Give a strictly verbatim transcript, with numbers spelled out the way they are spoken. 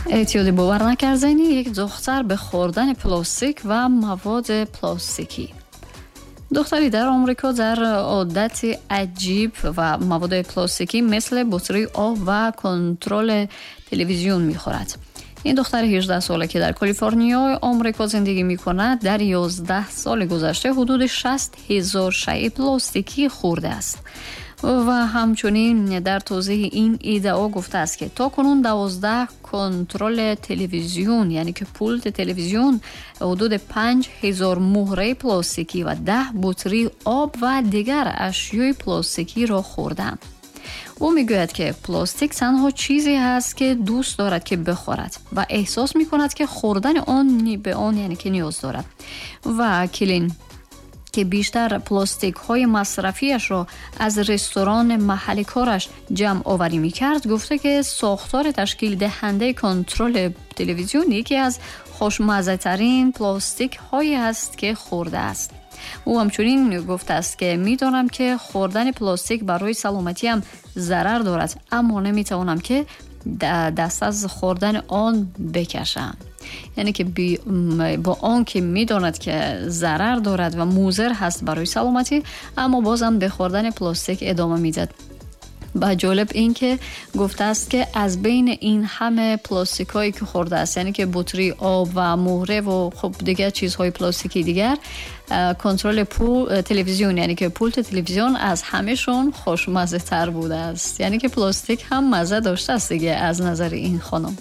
Эътиёди бовар накарданӣ як духтар ба хӯрдани пластик ва маводи пластикӣ. Духтаре дар Амрико дар одати аҷиб ва маводи пластикӣ мисли бутри об ва контрол телевизион мехӯрад. Ин духтари ҳаждаҳ сола, ки дар Калифорниёи Амрико зиндагӣ мекунад, дар ёздаҳ соли гузашта ҳудуди шаст ҳазор шайъи пластикӣ хӯрдааст. Ва ҳамчунин дар тавзеҳи ин иддао гуфтааст, ки то кунун дувоздаҳ контроли телевизион, яъне ки пулти телевизион, ҳудуди панҷ ҳазор муҳраи пластикӣ ва даҳ бутри об ва дигар ашёи пластикиро хӯрдам. Ӯ мегӯяд, ки пластик танҳо чизе ҳаст, ки дӯст дорад, ки бихӯрад, ва эҳсос мекунад, ки хӯрдани он ба он, яъне ки ниёз дорад. Ва Килин, ки бештар пластикҳои масрафиашро аз ресторани маҳалли кораш ҷамъ оварӣ мекард, гуфта, ки сохтори ташкилдиҳандаи контроли телевизион яке аз хушмаззатарин пластикҳое аст, ки хӯрдааст. Ӯ ҳамчунин гуфтааст, ки медонам, ки хӯрдани пластик барои саломатиам зарар дорад, аммо наметавонам, ки даст аз хӯрдани он бикашам. Яъне ки бо он ки медонад, ки зарар дорад ва музир ҳаст барои саломатӣ, аммо бозам ба хӯрдани пластик идома медиҳад. Ва ҷолиб ин ки гуфтааст, ки аз байни ин ҳама пластикҳое, ки хӯрдааст, яъне ки бутри об ва муҳра ва хуб дигар чизҳои пластикии дигар, контроли телевизион, яъне ки пулти телевизион, аз ҳамашон хушмаззатар будааст. Яъне ки пластик ҳам мазза доштааст дига аз назари ин хонум.